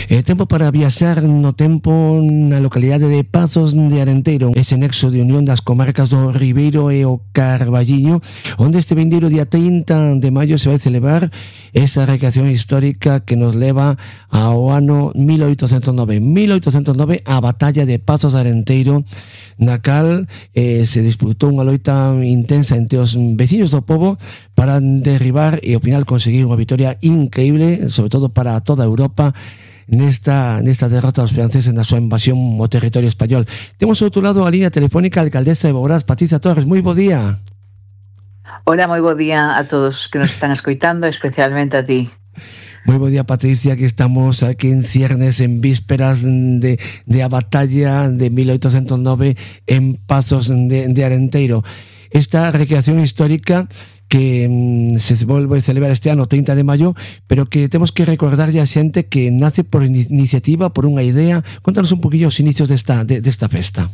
Tempo para viaxar no tempo na localidade de Pazos de Arenteiro, ese nexo de unión das comarcas do Ribeiro e o Carballiño, onde este vindeiro día 30 de maio se vai celebrar esa recreación histórica que nos leva ao ano 1809. 1809, a batalla de Pazos de Arenteiro, na cal se disputou unha loita intensa entre os veciños do pobo para derribar e ao final conseguir unha victoria increíble, sobre todo para toda Europa, nesta derrota dos franceses na súa invasión ao territorio español. Temos ao outro lado a línea telefónica a alcaldesa de Boborás, Patricia Torres. Moi bo día. Hola, moi bo día a todos que nos están escoitando, especialmente a ti. Moi bo día, Patricia, que estamos aquí en ciernes, en vísperas de a batalla de 1809 en Pazos de Arenteiro. Esta recreación histórica que se volve a celebrar este ano 30 de maio, pero que temos que recordarlle a xente que nace por iniciativa, por unha idea. Contanos un poquillo os inicios desta festa.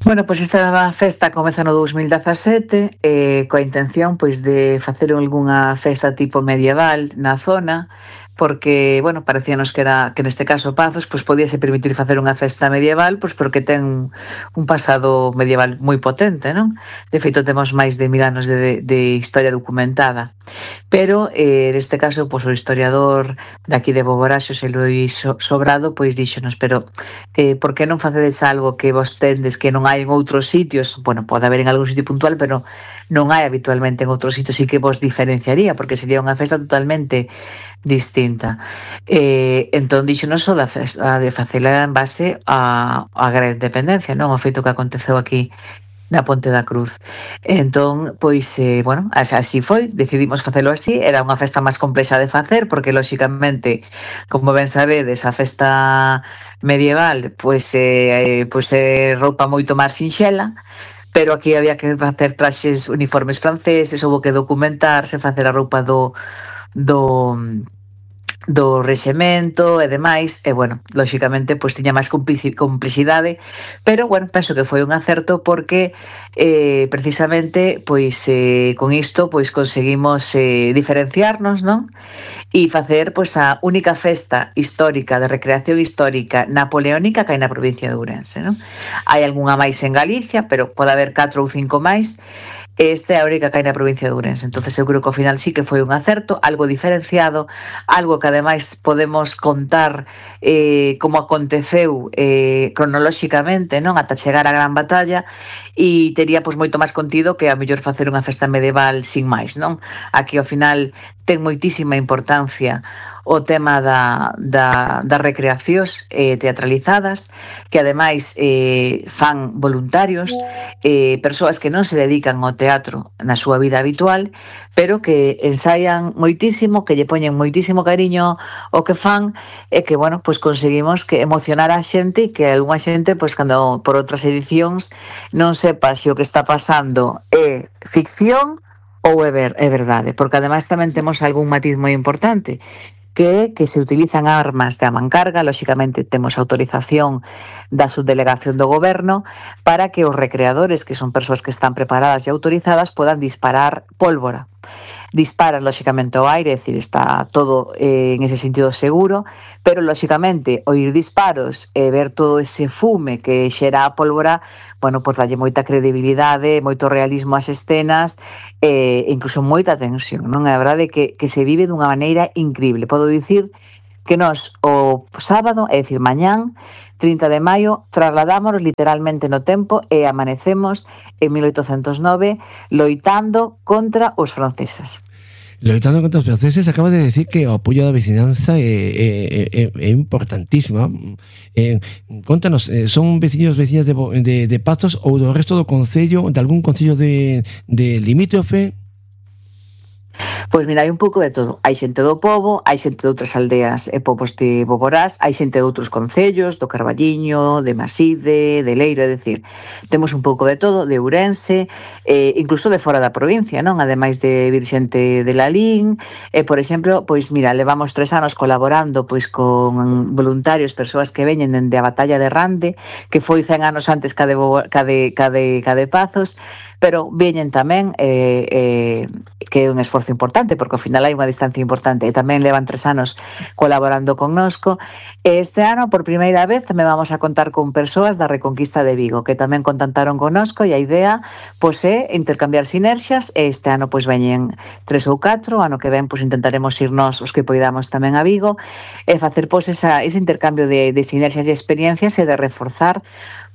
Bueno, pois esta festa comeza no 2017 coa intención pois de facer algunha festa tipo medieval na zona, porque, bueno, parecíanos que neste caso Pazos pois podíase permitir facer unha festa medieval, pois porque ten un pasado medieval moi potente, non? De feito, temos máis de 1000 anos de historia documentada. Pero, neste caso, pois o historiador daqui de Boborás, Xosé Luis Sobrado, pois díxonos, pero por que non facedes algo que vos tendes que non hai en outros sitios? Bueno, pode haber en algún sitio puntual, pero non hai habitualmente en outros sitios, e que vos diferenciaría, porque sería unha festa totalmente distinta. Entón dixonos o da festa de facela en base a gran independencia, non? O feito que aconteceu aquí na Ponte da Cruz. Entón, pois, bueno, así foi, decidimos facelo así. Era unha festa máis complexa de facer, porque, lóxicamente, como ben sabedes, a festa medieval, pois roupa moito máis sinxela, pero aquí había que facer traxes uniformes franceses, houve que documentarse, facer a roupa do rexemento e demais, e, bueno, lóxicamente, pois tiña máis complexidade, pero, bueno, penso que foi un acerto porque precisamente, pois con isto, pois conseguimos diferenciarnos, non? E facer, pois, a única festa histórica de recreación histórica napoleónica que hai na provincia de Ourense, non? Hai algunha máis en Galicia, pero pode haber 4 ou 5 máis. Este é a única que hai na provincia de Ourense. Entonces eu creo que ao final sí que foi un acerto, algo diferenciado, algo que ademais podemos contar como aconteceu cronolóxicamente, non, ata chegar á gran batalla, e tería pois moito máis contido que a mellor facer unha festa medieval sin máis, non? Aquí ao final ten moitísima importancia o tema das recreacións teatralizadas, que ademais fan voluntarios, persoas que non se dedican ao teatro na súa vida habitual, pero que ensaian moitísimo, que lle poñen moitísimo cariño o que fan, e que, bueno, pois conseguimos que emocionar a xente, e que algunha xente, pois cando por outras edicións non sepa se o que está pasando é ficción ou é verdade, porque ademais tamén temos algún matiz moi importante, que se utilizan armas de a mancarga. Lóxicamente temos autorización da subdelegación do goberno para que os recreadores, que son persoas que están preparadas e autorizadas, podan disparar pólvora. Disparan, lóxicamente, ao aire, é dicir, está todo en ese sentido seguro, pero, lóxicamente, oír disparos e ver todo ese fume que xera a pólvora, bueno, pois dalle moita credibilidade, moito realismo ás escenas, e incluso moita tensión, non? É a verdade que se vive dunha maneira increíble. Podo dicir que nós o sábado, é dicir, mañán, 30 de maio, trasladámonos literalmente no tempo e amanecemos en 1809 loitando contra os franceses. Loitando contra os franceses, acaba de decir que o apoio da vicinanza é importantísima. Contanos, son veciñas de Pazos ou do resto do concello, de algún concello de limítrofe? Pois mira, hai un pouco de todo. Hai xente do pobo, hai xente de outras aldeas e povos de Boborás, hai xente de outros concellos, do Carballiño, de Maside, de Leiro, é dicir, temos un pouco de todo, de Ourense, incluso de fora da provincia, non? Ademais de vir xente de Lalín, por exemplo, pois mira, levamos 3 anos colaborando pois con voluntarios, persoas que veñen dende a batalla de Rande, que foi 100 anos antes ca de Pazos, pero veñen tamén que é un esforzo importante importante, porque ao final hai unha distancia importante, e tamén levan 3 anos colaborando connosco. Este ano, por primeira vez, tamén vamos a contar con persoas da Reconquista de Vigo, que tamén contactaron connosco, e a idea pois é intercambiar sinerxias, e este ano pois veñen 3 ou 4, ano que ven pois intentaremos ir nós os que poidamos tamén a Vigo, e facer pois ese intercambio de sinerxias e experiencias, e de reforzar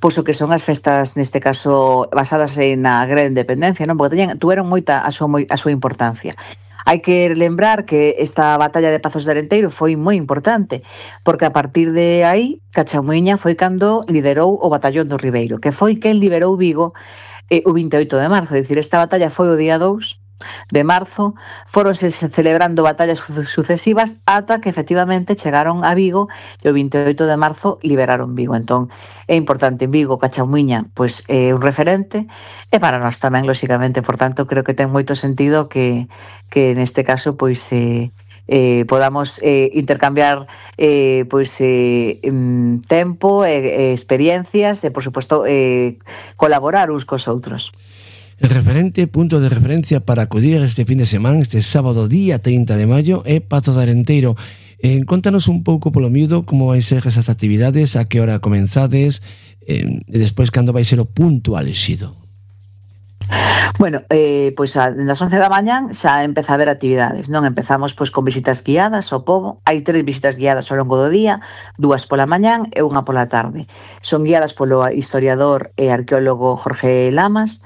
pois o que son as festas, neste caso, basadas na Gran Independencia, non? Porque tuveron moita a súa importancia. Hai que lembrar que esta batalla de Pazos de Arenteiro foi moi importante, porque a partir de aí, Cachamuiña foi cando liderou o batallón do Ribeiro, que foi quen liberou Vigo o 28 de marzo. É dicir, esta batalla foi o día 2 de marzo, foronse celebrando batallas sucesivas ata que efectivamente chegaron a Vigo, e o 28 de marzo liberaron Vigo. Entón, é importante en Vigo, Cachamuiña pois é un referente, e para nós tamén, lóxicamente. Por tanto, creo que ten moito sentido que neste caso pois podamos intercambiar tempo e experiencias, e por suposto colaborar uns cos outros. El referente, punto de referencia para acudir este fin de semana, este sábado día 30 de maio, é Pazos de Arenteiro. Contanos un pouco polo miúdo como vai ser esas actividades, a que hora comenzades, e despois cando vai ser o punto alexido. Bueno, pois das 11 da mañán xa empeza a haber actividades, non? Empezamos pois con visitas guiadas ao pobo. Hai 3 visitas guiadas ao longo do día, 2 pola mañán e 1 pola tarde. Son guiadas polo historiador e arqueólogo Jorge Lamas,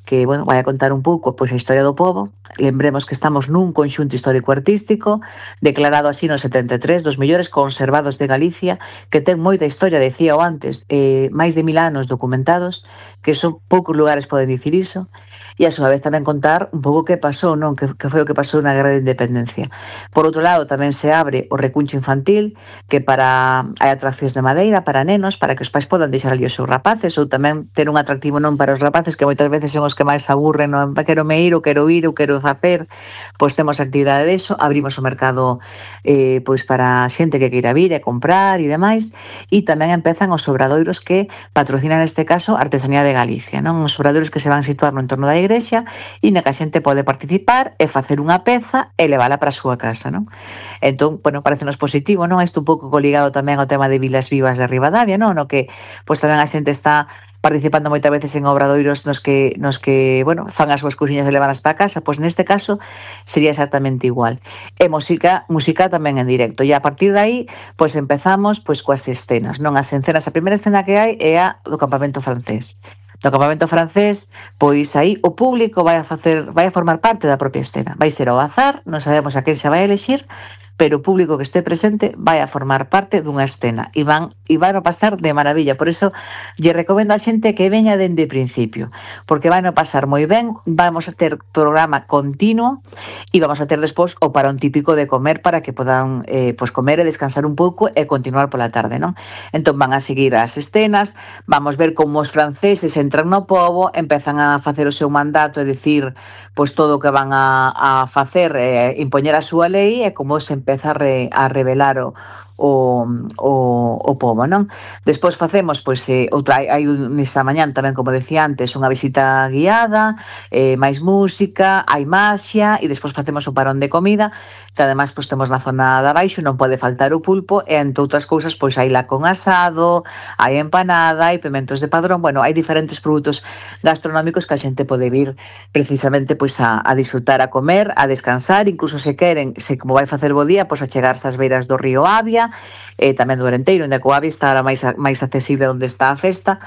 que, bueno, vai a contar un pouco pois a historia do pobo. Lembremos que estamos nun conxunto histórico-artístico declarado así no 73, dos mellores conservados de Galicia, que ten moita historia, decíao antes, máis de 1000 anos documentados, que son poucos lugares poden dicir iso, e a súa vez tamén contar un pouco que pasou, non? Que foi o que pasou na Guerra de Independencia. Por outro lado, tamén se abre o recuncho infantil, que hai atraccións de madeira para nenos, para que os pais podan deixar ali os seus rapaces, ou tamén ter un atractivo non para os rapaces, que moitas veces son os que máis aburren, non? Quero me ir, ou quero ir, ou quero facer. Pois temos actividade deso, abrimos o mercado pois para xente que queira vir e comprar e demais, e tamén empezan os obradoiros que patrocinan neste caso Artesanía de Galicia, non? Os obradoiros que se van situar no entorno da igrexa, e na que a xente pode participar e facer unha peza e levala para a súa casa, non? Entón, bueno, parecenos positivo, non? Isto un pouco coligado tamén ao tema de Vilas Vivas de Ribadavia, non? No que pois tamén a xente está participando moitas veces en obradoiros nos que bueno, fan as súas cousiñas e levanas para casa. Pois neste caso sería exactamente igual. E música tamén en directo. E a partir de aí, pois empezamos pois coas escenas, non? As escenas, a primeira escena que hai é a do campamento francés. No campamento francés, pois aí o público vai a formar parte da propia escena. Vai ser ao azar, non sabemos a quen se vai elexir, pero o público que este presente vai a formar parte dunha escena e van a pasar de maravilla. Por iso lle recomendo a xente que veña dende o principio, porque van a pasar moi ben. Vamos a ter programa continuo e vamos a ter despois o parón típico de comer, para que podan pois comer e descansar un pouco e continuar pola tarde, non? Entón van a seguir as escenas, vamos ver como os franceses entran no pobo, empezan a facer o seu mandato, é dicir, pois todo o que van a facer, impoñer a súa lei, e como se empeza a revelar o pobo, non? Despois facemos, pois, hai nesta mañán tamén, como decía antes, unha visita guiada, máis música, hai maxia, e despois facemos o parón de comida, que ademais pois temos na zona de abaixo, non pode faltar o pulpo, e entre outras cousas, pois hai lacón asado, hai empanada, hai pimentos de padrón. Bueno, hai diferentes produtos gastronómicos que a xente pode vir precisamente pois a disfrutar, a comer, a descansar, incluso se queren, como vai facer bo día, pois a chegarse ás beiras do río Avia, tamén do Arenteiro, onde a Coavia está máis accesible onde está a festa,